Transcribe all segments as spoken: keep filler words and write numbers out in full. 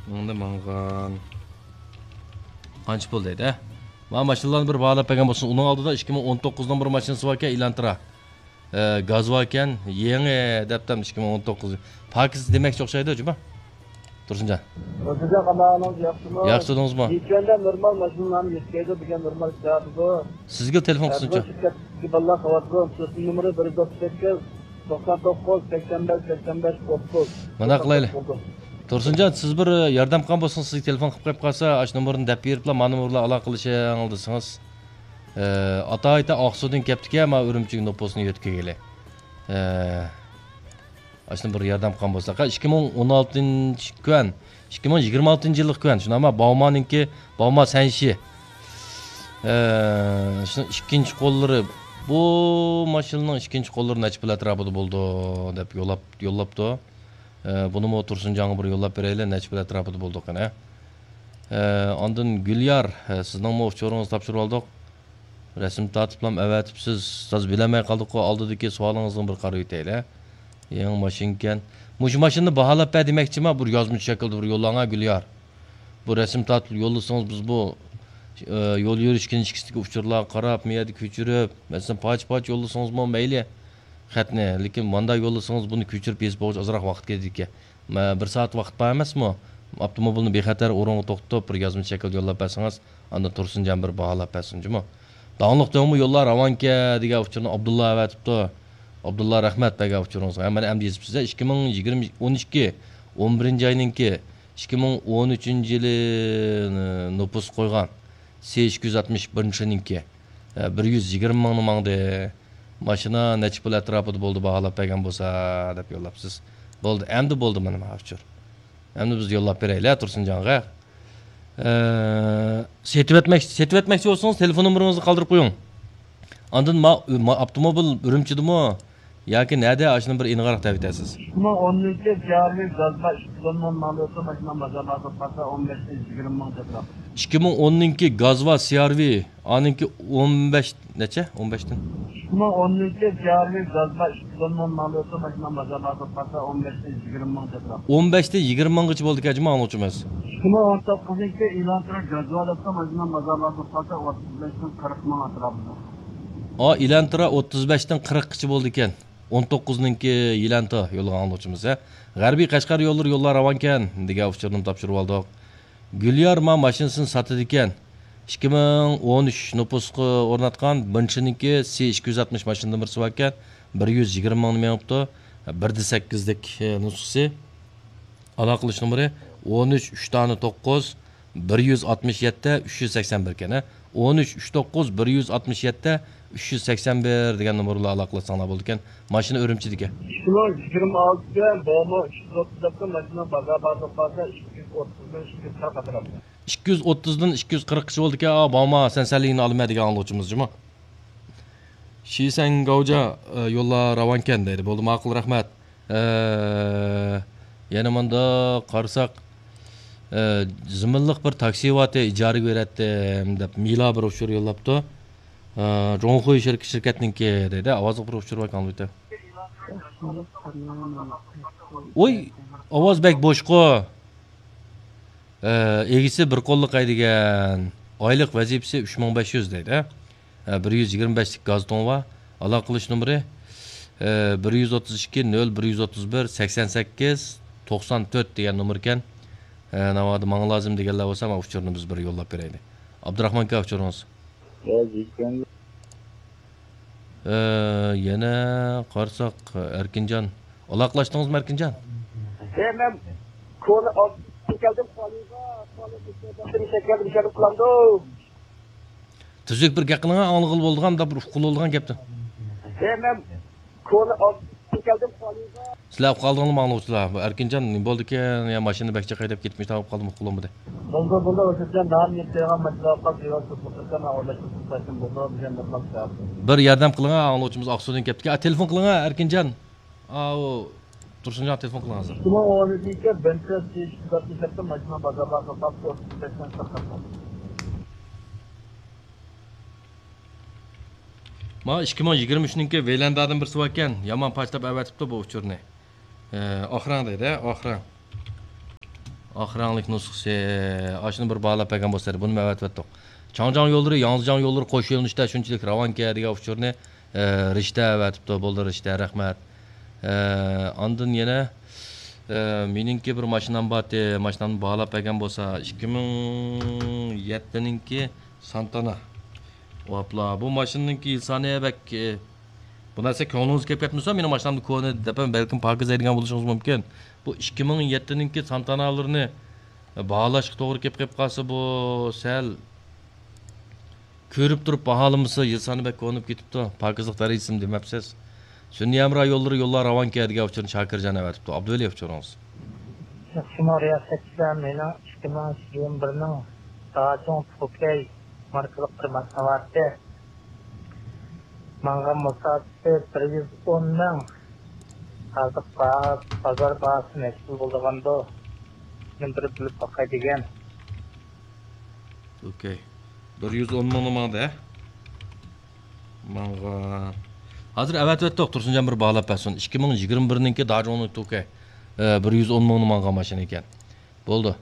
ماڭدى ماڭغان. قانچە پۇل دەيدۇ، ھە؟ مانا ماشىنىلارنى بىر باھالاپ بەرگەن بولسۇن. ئۇنىڭ ئالدىدا ئىككى مىڭ ئون توققۇزنىڭ بىر ماشىنىسى باركەن، ئېلانترا. ئە، گاز باركەن، يېڭى دەپتۇ ئىككى مىڭ ئون توققۇز. پاكىز دېمەكچى ئوخشايدۇ، جۇما. تۇرسۇنجان. تۇرسۇنجان، قانداق ئەھۋالىڭىز، ياخشىمۇ؟ ياخشى تۇردىڭىزمۇ؟ يېكەندە نورمال ماشىنىلارنى يۆتكەيدۇ، بۈگۈن نورمال ئىشلەۋاتىدۇ. سىزگە تېلېفون قىلسۇنچۇ؟ شىركەتتىكى بالىلار خەۋەر قىلىدۇ. تېلېفون نومۇرى بىر يۈز ئوتتۇز سەككىز، توقسان توققۇز، سەكسەن بەش، سەكسەن بەش، ئوتتۇز. مانداق قىلايلى. تۇرسۇنجان، سىز بىر ياردەم قىلغان بولسىڭىز، سىزگە تېلېفون قىلىپ قويۇپ قالسا، ئاشۇ نومۇرنى دەپ بېرىپلا، مانا نومۇر بىلەن ئالاقىلىشىڭ دېسىڭىز. ئە، ئاتايىتا ئاقسۇدىن كەپتىكەن، مانا ئۈرۈمچىگە نوپۇسنى يۆتكىگىلى. ئە، ئاشۇنى بىر ياردەم قىلغان بولسا. ئىككى مىڭ ئون ئالتىنچى كۈەن، ئىككى مىڭ يىگىرمە ئالتىنچى يىللىق كۈەن، شۇنداقمۇ؟ باۋمانىڭكى، باۋما سەنشى. ئە، شۇنىڭ ئىككىنچى قوللىرى، بۇ ماشىنىنىڭ ئىككىنچى قوللىرى نەچچە پۇل ئەتراپىدا بولىدۇ دەپ يوللاپ، يوللاپتۇ. ئە، بۇنىمۇ تۇرسۇنجانغا بىر يوللاپ بېرەيلى، نەچچە پۇل ئەتراپىدا بولىدۇ قېنى. ئە، ئاندىن گۈليار، ئە، سىزنىڭمۇ ئۇچۇرىڭىزنى تاپشۇرۇپ ئالدۇق. رەسىم تارتىپلام ئەۋەتىپسىز، تازا بىلەلمەي قالدۇققۇ، ئالدىدىكى سوئالىڭىزغا بىر قاراۋېتەيلى. يېڭى ماشىنىكەن. مۇشۇ ماشىنىنى باھالاپ بەر دېمەكچىما، بىر يازمىچە شەكىلدە بىر يوللاڭا، گۈليار. بۇ رەسىم تارتىپ يوللىسىڭىز، بىز بۇ، ئە، يول يۈرۈش كىنىشكىسىدىكى ئۇچۇرلارغا قاراپ، مۇ يەردە كۆچۈرۈپ، مەسىلەن، پارچە-پارچە يوللىسىڭىزمۇ مەيلى خەتنى، لېكىن مۇنداق يوللىسىڭىز، بۇنى كۆچۈرۈپ يېزىپ بولغۇچە ئازراق ۋاقىت كېتىدىكەن. مە-، بىر سائەت ۋاقىت بار ئەمەسمۇ؟ ئاپتوموبىلنى بىخەتەر ئورۇنغا توختىتىپ، بىر يازمىچە شەكىلدە يوللاپ بەرسىڭىز، ئاندىن تۇرسۇنجان بىر باھالاپ بەرسۇن، جۇمۇ. داڭلىق دۆڭمۇ يوللار راۋانكەن دېگەن ئۇچۇرنى ئابدۇللا ئەۋەتىپتۇ. ئابدۇللا رەھمەت بەرگەن ئۇچۇرىڭىزغا. مانا ئەمدى يېزىپسىز، ئىككى مىڭ يىگىرمە، ئون ئىككى، ئون بىرىنچى ئاينىڭكى، ئىككى مىڭ ئون ئۈچىنچى يىلى، ئى، نوپۇس قويغان. سى ئىككى يۈز ئاتمىش بىرىنچى يىلىنىڭكى. ئە، بىر يۈز يىگىرمە مىڭنى ماڭدى. ماشىنا نەچچە پۇل ئەتراپىدا بولدى، باھالاپ بەرگەن بولسا، دەپ يوللاپسىز. بولدى، ئەمدى بولدى مانا ما ئۇچۇر. ئەمدى بىز يوللاپ بېرەيلى تۇرسۇنجانغا. ئە، سېتىۋەتمەك-، سېتىۋەتمەكچى بولسىڭىز، تېلېفون نومۇرىڭىزنى قالدۇرۇپ قويۇڭ. ئاندىن ما-، ما-، ئاپتوموبىل ئۈرۈمچىدىمۇ ياكى نەدە، ئاشۇنى بىر ئېنىقراق دەۋېتەرسىز. ئىككى مىڭ ئونىنچى گازۋا ئىككى يۈز ئون مىڭ ماڭدى، ماشىنا بازار باھاسى پاتسا ئون بەشتىن يىگىرمە مىڭ تەتراپ. ئىككى مىڭ ئونىنچى گازۋا سى ئار ۋى، ئانىڭكى ئون بەش نەچچە؟ ئون بەشتىن. ئىككى مىڭ ئونىنچى گازۋا ئىككى يۈز ئون مىڭ ماڭدى، ماشىنا بازار باھاسى پاتسا ئون بەشتىن يىگىرمە مىڭ تەتراپ. ئون بەشتىن يىگىرمە مىڭغىچە بولدىكەن، جۇمۇ، ئاڭلىغۇچىمىز. ئىككى مىڭ ئون توققۇزىنچى ئېلانترا گازۋا دەپتۇ، ماشىنا بازار باھاسى پاتسا ئوتتۇز بەشتىن قىرىق مىڭ ئەتراپىدا. ئا، ئېلانترا ئوتتۇز بەشتىن قىرىققىچە بولدىكەن. ئون توققۇزنىڭكى يىلانتا يولىغا ئاڭلىغۇچىمىز، ھە. غەربىي قەشقەر يوللىرى يوللار راۋانكەن دېگەن ئۇچۇرنى تاپشۇرۇۋالدۇق. گۈليار ما ماشىنىسىنى ساتىدىكەن. ئىككى مىڭ ئون ئۈچ نوپۇسقا ئورناتقان بىرىنچىنىڭكى سى ئىككى يۈز ئاتمىش ماشىنىدىن بىرسى باركەن. بىر يۈز يىگىرمە مىڭنى مېڭىپتۇ. بىر دە سەككىزلىك، ئە، نۇسخىسى. ئالاقىلىشىش نومۇرى ئون ئۈچ، ئۈچ دانە توققۇز، بىر يۈز ئاتمىش يەتتە، ئۈچ يۈز سەكسەن بىر ئىكەن، ھە. ئون ئۈچ، ئۈچ توققۇز، بىر يۈز ئاتمىش يەتتە، ئۈچ يۈز سەكسەن بىر دېگەن نومۇر بىلەن ئالاقىلەشسەڭلار بولىدىكەن. ماشىنا ئۈرۈمچىدىكەن. ئىككى مىڭ يىگىرمە ئالتىدە بومۇ ئۈچ يۈز ئوتتۇز دەپتۇ، ماشىنا بازار باھاسى بولسا ئىككى يۈز ئوتتۇزدىن ئىككى يۈز قىرىق ئەتراپىدا. ئىككى يۈز ئوتتۇزدىن ئىككى يۈز قىرىققىچە بولىدىكەن. ئا، بومۇ، سەن سەلىگىنى ئالىمەن دېگەن ئاڭلىغۇچىمىز جۇمۇ. شىسەن گاۋجا، ئە، يوللار راۋانكەن دەيدۇ. بولدى، ماقۇل، رەھمەت. ئە، يەنە مۇنداق قارىساق، ئە، زېمىنلىق بىر تاكسى بارتى، ئىجارىگە بېرەتتىم دەپ مىلا بىر ئۇچۇر يوللاپتۇ. ئە، جۇڭخۇي شىرك-، شىركەتنىڭكى دەيدۇ. ئاۋازلىق بىر ئۇچۇر بار ئىكەن، ئالۋىتە. ئوي، ئاۋاز بەك بوشقۇ. ئە، ئىگىسى بىر قوللۇق ھەيدىگەن. ئايلىق ۋەزىپىسى ئۈچ مىڭ بەش يۈز دەيدۇ. ئە، بىر يۈز يىگىرمە بەشلىك گاز تۇڭى بار. ئالاقىلىشىش نومۇرى، ئە، بىر يۈز ئوتتۇز ئىككى، نۆل بىر يۈز ئوتتۇز بىر، سەكسەن سەككىز، توقسان تۆت دېگەن نومۇر ئىكەن. ئە، ناۋادا ماڭا لازىم دېگەنلەر بولسا، مانا ئۇچۇرنى بىز بىر يوللاپ بېرەيلى. ئابدۇراخمان ئاكا، ئۇچۇرىڭىز. ئە، يەنە قارىساق، ئەركىنجان. ئالاقىلاشتىڭىزمۇ، ئەركىنجان؟ ئە، مەن كونا ئالدىن كەلدىم، خالىغا، خالىغا كەلدىم، شەرت قىلامدۇ. تۈزۈك بىر گەپ قىلىڭا، ئاڭلىغىلى بولىدىغان، بىر ئۇققىلى بولىدىغان گەپتە. ئە، مەن كونا ئالدىن كەلدىم، خالىغا. سىلەر ئۇقۇپ قالدىڭلارمۇ، ئاڭلىغۇچىلار؟ بۇ ئەركىنجان نېمە بولدىكىن؟ يا ماشىنا بەك جىق ھەيدەپ كېتىپمۇ، تاۋاپ قالدىم، ئۇققۇلۇم بۇدى. بولدى، بولدى، ئۆزۈمچە نان يەپ قويغان ماشىنا قاپ يۈرۈۋاتىپ، بىر ياردەم قىلىڭا، ئاڭلىغۇچىمىز ئاقسۇدىن كەپتىكەن. ئا، تېلېفون قىلىڭا، ئەركىنجان. ئاۋۇ تۇرسۇنجان تېلېفون قىلىڭ ھازىر. ئىككى مىڭ ئون ئۈچىنچى يىلى بىنتسى ئىككى يۈز ئاتمىش يەتتە ماشىنا بازار باھاسى سوتقا ئوتتۇز بەشتىن قىرىق. مانا ئىككى مىڭ يىگىرمە ئۈچنىڭكى ۋېيلاندادىن بىرسى باركەن، يامان پاچتاپ ئەۋەتىپتۇ بۇ ئۇچۇرنى. ئە، ئاخرىڭ دەيدۇ، ئاخرىڭ. ئاق رەڭلىك نۇسخىسى، ئاشۇنى بىر باھالاپ بەرگەن بولسا، بۇنىمۇ ئەۋەتىۋەتتۇق. چاڭجياڭ يوللىرى، ياڭزىجياڭ يوللىرى قوش يۆنىلىشتە شۇنچىلىك راۋانكەن دېگەن ئۇچۇرنى، ئە، رىشتە ئەۋەتىپتۇ. بولدى، رىشتە، رەھمەت. ئە، ئاندىن يەنە، ئە، مېنىڭكى بىر ماشىنام بارتى، ماشىنامنى باھالاپ بەرگەن بولسا، ئىككى مىڭ يەتتىنىڭكى سانتانا. ۋاپلا، بۇ ماشىنىنىڭكى يىل سانى بەك، ئە، بۇ نەرسە كۆڭلىڭىزگە كەپ كەتمىسە، مېنىڭ ماشىنامدا كونا دەپ ھەم بەلكىم پاكىز دەيدىغان بولۇشىڭىز مۇمكىن. بۇ ئىككى مىڭ يەتتىنىڭكى سانتانالىرىنى باھالاشقا توغرا كېلىپ قېلىپ قالسا، بۇ سەل كۆرۈپ تۇرۇپ باھالىمىسا، يىل سانى بەك كونىپ كېتىپتۇ. پاكىزلىق دەرىجىسىمۇ دېمەپسىز. سۈنئىي ھەمراھ يوللىرى يوللار راۋانكەن دېگەن ئۇچۇرنى شاكىرجان ئەۋەتىپتۇ. ئابدۇۋەلى ئۇچۇرىڭىز. شۇڭا رىياسەتچىلەر، مېنىڭ ئىككى مىڭ يىگىرمە بىرنىڭ داچۇڭ توكەي ماركىلىق بىر ماشىنا بارتى. ماڭغان مۇساپىسى بىر يۈز ئون مىڭ. ھازىر با-، بازار باھاسى نەچچە پۇل بولىدىغاندۇ؟ مەن بىر بىلىپ باقاي دېگەن. ئوكەي. بىر يۈز ئون مىڭنى ماڭدى، ھە؟ ماڭغان. ھازىر ئەۋەتىۋەتتۇق، تۇرسۇنجان بىر باھالاپ بەرسۇن. ئىككى مىڭ يىگىرمە بىرنىڭكى داجۇڭنىڭ توكى، ئە، بىر يۈز ئون مىڭنى ماڭغان ماشىنا ئىكەن. بولدى.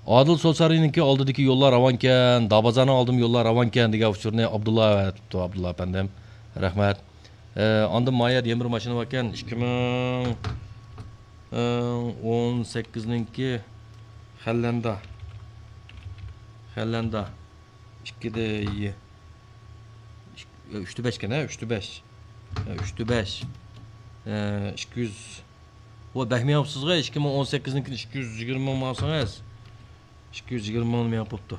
ئادىل سوسارىنىڭكى ئالدىدىكى يوللار راۋانكەن، دابازارنىڭ ئالدىمۇ يوللار راۋانكەن دېگەن ئۇچۇرنى ئابدۇللا ئەۋەتىپتۇ، ئابدۇللا ئەپەندىم. رەھمەت. ئە، ئاندىن ما يەردە يەنە بىر ماشىنا باركەن، ئىككى مىڭ ئون سەككىزنىڭكى خەللەندا. خەللەندا. ئىككىدە يە-، ئىك-، ئۈچتە بەشكەن، ھە؟ ئۈچتە بەش. ئۈچتە بەش. ئىككى يۈز. ۋە بەك مېڭىپسىزغۇ، ئىككى مىڭ ئون سەككىزنىڭكىنى ئىككى يۈز يىگىرمە مىڭ ماڭسىڭىز. ئىككى يۈز يىگىرمە مىڭ مېڭىپ بوپتۇ.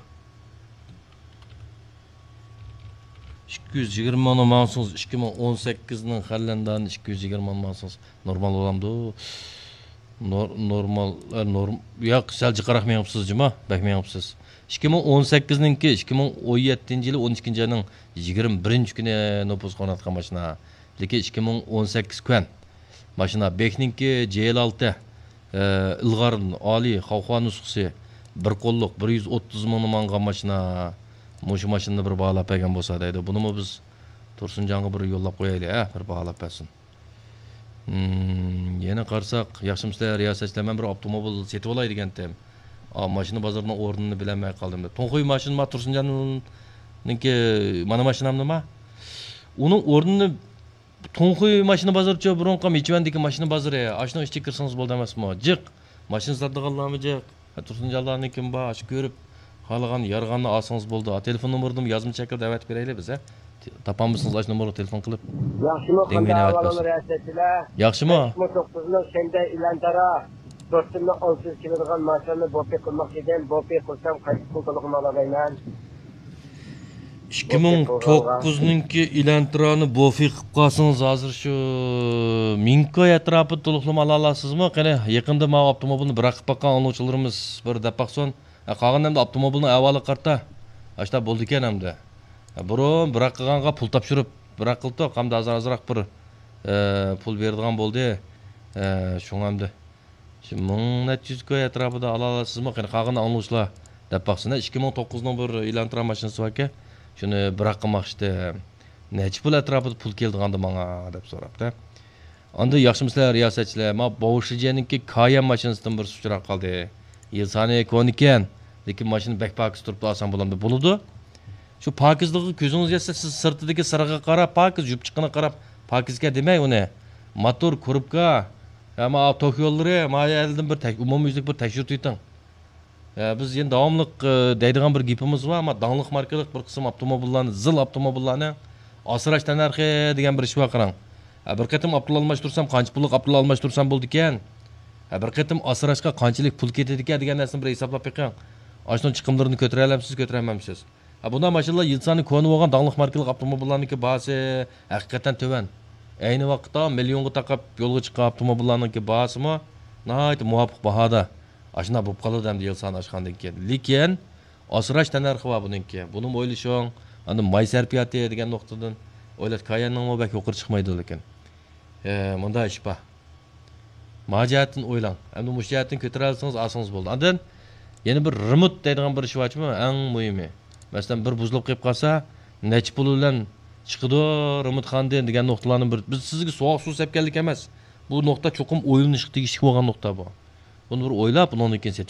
ئىككى يۈز يىگىرمە مىڭنى ماڭسىڭىز، ئىككى مىڭ ئون سەككىزنىڭ خەللەندانى ئىككى يۈز يىگىرمە مىڭنى ماڭسىڭىز، نورمال بولامدۇ؟ نور-، نورمال، ئە، نورم-، ياق، سەل جىقراق مېڭىپسىز جۇما، بەك مېڭىپسىز. ئىككى مىڭ ئون سەككىزنىڭكى، ئىككى مىڭ ئون يەتتىنچى يىلى ئون ئىككىنچى ئاينىڭ يىگىرمە بىرىنچى كۈنى نوپۇسقا ئورناتقان ماشىنا. لېكىن ئىككى مىڭ ئون سەككىز كۈەن. ماشىنا بېكنىڭكى جې ئېل ئالتە، ئە، ئىلغار ئالىي خاۋخۇا نۇسخىسى، بىر قوللۇق، بىر يۈز ئوتتۇز مىڭنى ماڭغان ماشىنا. مۇشۇ ماشىنىنى بىر باھالاپ بەرگەن بولسا دەيدۇ. بۇنىمۇ بىز تۇرسۇنجانغا بىر يوللاپ قويايلى، ھە، بىر باھالاپ بەرسۇن. ھىم، يەنە قارىساق، ياخشىمۇسىلەر رىياسەتچىلەر، مەن بىر ئاپتوموبىل سېتىۋالاي دېگەنتىم. ئا، ماشىنا بازىرىنىڭ ئورنىنى بىلەلمەي قالدىم دەپ. توڭخۇي ماشىنا ما تۇرسۇنجاننىڭكى، مانا ماشىنامنىما؟ ئۇنىڭ ئورنىنى توڭخۇي ماشىنا بازىرىچۇ، بۇرۇنقى مىچۈەندىكى ماشىنا بازىرى. ئاشۇنىڭ ئىچىگە كىرسىڭىز بولدى ئەمەسمۇ؟ جىق. ماشىنا ساتىدىغانلارمۇ جىق. ھە، تۇرسۇنجانلارنىڭكىمۇ بار. ئاشۇ كۆرۈپ، خالىغان يارىغاننى ئالسىڭىز بولدى. تېلېفون نومۇرىنىمۇ يازما شەكىلدە ئەۋەتىپ بېرەيلى بىز، ھە. تاپالمىسىڭىز، ئاشۇ نومۇرغا تېلېفون قىلىپ. ياخشىمۇ، دېڭگىنى قانداق ئەۋەت ئەھۋالىڭلار، بەرسۇن. رىياسەتچىلەر؟ ياخشىمۇ؟ بەش مىڭ توققۇز مىڭ شەندە ئىلان تارا، تۆت مىڭ ئالتە يۈز كېلىدىغان ماشىنىنى بوپى قىلماقچى ئىدىم. بوپى قىلسام، قايسى پۇل تولۇقلىما ئالالايمەن؟ ئىككى مىڭ توققۇزنىڭكى ئىلانترانى بوفى قىلىپ قالسىڭىز، ھازىر شۇ مىڭكوي ئەتراپىدا تولۇقلىما ئالالامسىزمۇ؟ قېنى، يېقىندا ماۋۇ ئاپتوموبىلنى بىراق قىلىپ باققان ئاڭلىغۇچىلىرىمىز بىر دەپ باقسۇن. ھە، قالغان ئەمدى ئاپتوموبىلنىڭ ئەھۋالىغا قارىتا. ئاشتا بولىدىكەن ئەمدى. ھە، بۇرۇن بىراق قىلغانغا پۇل تاپشۇرۇپ بىراق قىلدۇق. ئەمدى ھازىر ئازراق بىر، ئە، پۇل بېرىدىغان بولدى. ئە، شۇڭا ئەمدى شۇ مىڭ نەچچە يۈز كوي ئەتراپىدا ئالالامسىزمۇ؟ قېنى، قالغىنىنى ئاڭلىغۇچىلار دەپ باقسۇن. ئىككى مىڭ توققۇزنىڭ بىر ئىلانترا ماشىنىسى باركەن، شۇنى بىراق قىلماقچىدىم. نەچچە پۇل ئەتراپىدا پۇل كېلىدىغاندۇ ماڭا دەپ سوراپتۇ. ئاندىن ياخشىمۇسىلەر رىياسەتچىلەر؟ ما بوۋشىجيەنىڭكى كايەن ماشىنىسىدىن بىر سۇچراق قالدى. يىل سانى كونىكەن، لېكىن ماشىنا بەك پاكىز تۇرۇپلا ئالسام بولامدۇ؟ بولىدۇ. شۇ پاكىزلىقىغا كۆزىڭىز يەتسە، سىز سىرتىدىكى سىرىغا قاراپ، پاكىز يۇپچىقىغا قاراپ، پاكىزكەن دېمەي ئۇنى. موتور، كوروپكا، يا ما توك يوللىرى، ما يەردىن بىر تەك-، ئومۇميۈزلۈك بىر تەكشۈرتۈۋېتىڭ. يا، بىز يەنە داۋاملىق، ئى، دەيدىغان بىر گېپىمىز بار، ئەمما داڭلىق ماركىلىق بىر قىسىم ئاپتوموبىللارنى، زىل ئاپتوموبىللارنى ئاسراش تەننەرخى دېگەن بىر ئىش بار، قاراڭ. ھە، بىر قېتىم ئاپتوموبىل ئالماشتۇرسام، قانچە پۇللۇق ئاپتوموبىل ئالماشتۇرسام بولىدىكەن؟ ھە، بىر قېتىم ئاسراشقا قانچىلىك پۇل كېتىدىكەن دېگەن نەرسىنى بىر ھېسابلاپ بېقىڭ. ئاشۇنىڭ چىقىملىرىنى كۆتۈرەلەمسىز، كۆتۈرەلمەمسىز؟ ھە، بۇنداق ماشىنىلار يىل سانى كونا بولغان داڭلىق ماركىلىق ئاپتوموبىللارنىڭكى باھاسى ھەقىقەتەن تۆۋەن. ئەينى ۋاقىتتا مىليونغا تاقاپ يولغا چىققان ئاپتوموبىللارنىڭكى باھاسىمۇ ناھايىتى مۇۋاپىق باھادا. ئاشۇنداق بولۇپ قالىدۇ ئەمدى يىل سانى ئاشقاندىن كېيىن. لېكىن ئاسراش تەننەرخى بار بۇنىڭكى. بۇنىمۇ ئويلىشىڭ. ئاندىن ماي سەرپىياتى دېگەن نۇقتىدىن ئويلاش، كايەننىڭمۇ بەك يۇقىرى چىقمايدۇ لېكىن. ھە، مۇنداق ئىش بار. ما جەھەتتىن ئويلاڭ. ئەمدى مۇشۇ جەھەتتىن كۆتۈرەلىسىڭىز، ئالسىڭىز بولدى. ئاندىن يەنە بىر رېمونت دەيدىغان بىر ئىش بارچۇ، ئەڭ مۇھىمى. مەسىلەن، بىر بۇزۇلۇپ قېلىپ قالسا، نەچچە پۇل بىلەن چىقىدۇ رېمونتخانىدىن دېگەن نۇقتىلارنى بىر، بىز سىزگە سوغۇق سۇ سەپكەنلىك ئەمەس. بۇ نۇقتا چوقۇم ئويلىنىشقا تېگىشلىك بولغان نۇقتا بۇ. بۇنى بىر ئويلاپ، ئۇنىڭدىن كېيىن سېتىۋېلىڭ.